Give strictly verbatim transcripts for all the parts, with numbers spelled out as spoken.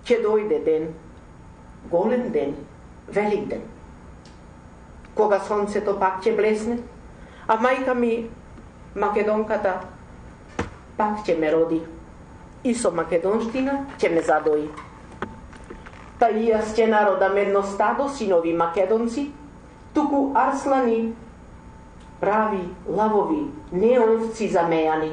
ќе дојде ден, голем ден, велик ден, кога сонцето пак ќе блесне, а мајка ми, македонката, пак ќе ме роди и со македонштина ќе ме задои. Та и јас ќе народам едно стадо синови македонци, туку арслани, прави, лавови, не овци замејани.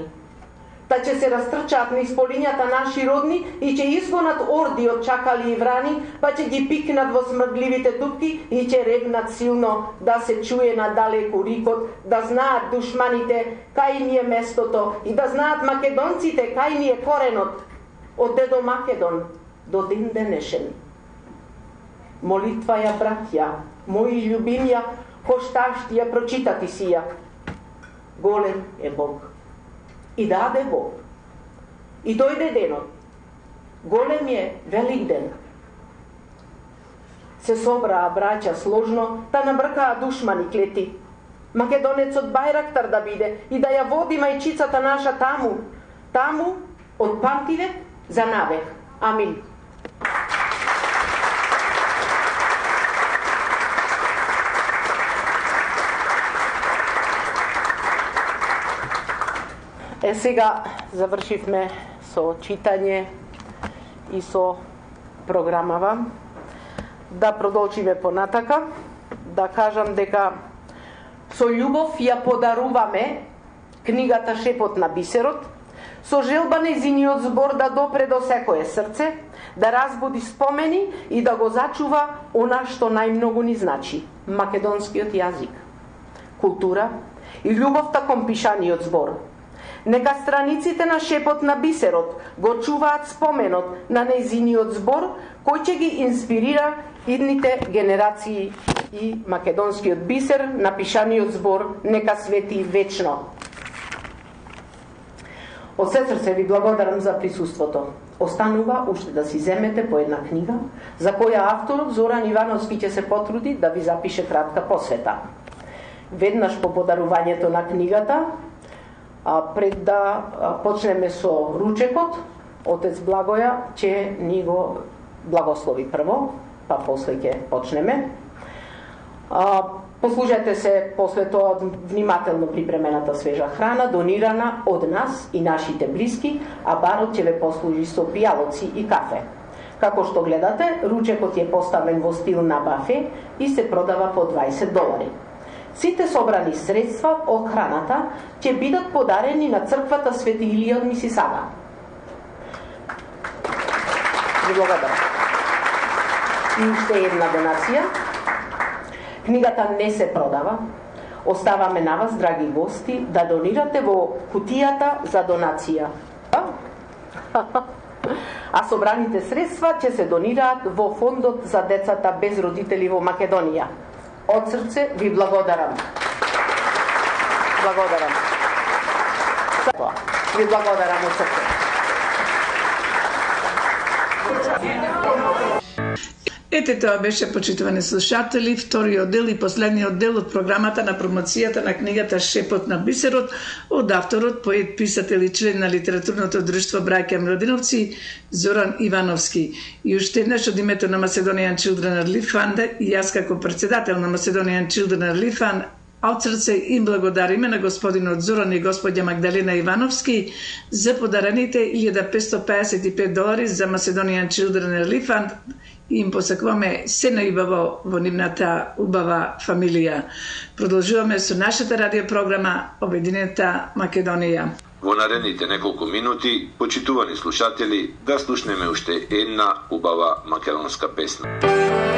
Та ќе се растрчаат низ полињата наши родни и ќе изгонат орди од чакали и врани, па ќе ги пикнат во смрдливите дупки и ќе ревнат силно, да се чуе надалеку рикот, да знаат душманите кај ми е местото и да знаат македонците кај ми е коренот, од дедо Македон до ден денешен. Молитва ја, браќа, мои љубимја, кошташти ја прочитати си ја. Голем е Бог. И даде Бог. И дојде денот. Голем е велик ден. Се собраа браќа сложно, да набркаа душмани клети. Македонецот Бајрактар да биде и да ја води мајчицата наша таму. Таму, од памтивек за навек. Амин. Е, сега завршивме со читање и со програмава. Да продолжиме понатака, да кажам дека со љубов ја подаруваме книгата Шепот на бисерот, со желба нејзиниот збор да допре до секое срце, да разбуди спомени и да го зачува она што најмногу ни значи, македонскиот јазик, култура и љубовта кон пишаниот збор. Нека страниците на Шепот на бисерот го чуваат споменот на нејзиниот збор, кој ќе ги инспирира идните генерации и македонскиот бисер на пишаниот збор нека свети вечно. Од се срце ви благодарам за присуството. Останува уште да си земете по една книга, за која авторот Зоран Ивановски ќе се потруди да ви запише кратка посвета. Веднаш по подарувањето на книгата, А пред да почнеме со ручекот, отец Благоја ќе ни го благослови прво, па после ќе почнеме. А, послужете се после тоа внимателно припремената свежа храна, донирана од нас и нашите блиски, а барот ќе ве послужи со пијалоци и кафе. Како што гледате, ручекот е поставен во стил на бафе и се продава по дваесет долари. Сите собрани средства од храната ќе бидат подарени на црквата Свети Илија од Мисисага. Ви благодарам. И уште една донација. Книгата не се продава. Оставаме на вас, драги гости, да донирате во кутијата за донација. А собраните средства ќе се донираат во фондот за децата без родители во Македонија. Од срце ви благодарам. Благодарам. Ви благодарам од срце. Ете, тоа беше, почитувани слушатели, вториот дел и последниот дел од програмата на промоцијата на книгата Шепот на бисерот од авторот, поет, писател и член на литературното друштво Браќа Младиновци Зоран Ивановски. И уште еднаш од името на Macedonian Children Relief Fund и јас како председател на Macedonian Children Relief Fund од срце им благодариме на господинот Зоран и господја Магдалена Ивановски за подарените илјада петстотини пеесет и пет долари за Macedonian Children Relief Fund. И им посакуваме се најубаво во нивната убава фамилија. Продолжуваме со нашата радиопрограма Обединета Македонија. Во наредните неколку минути, почитувани слушатели, да слушнеме уште една убава македонска песна.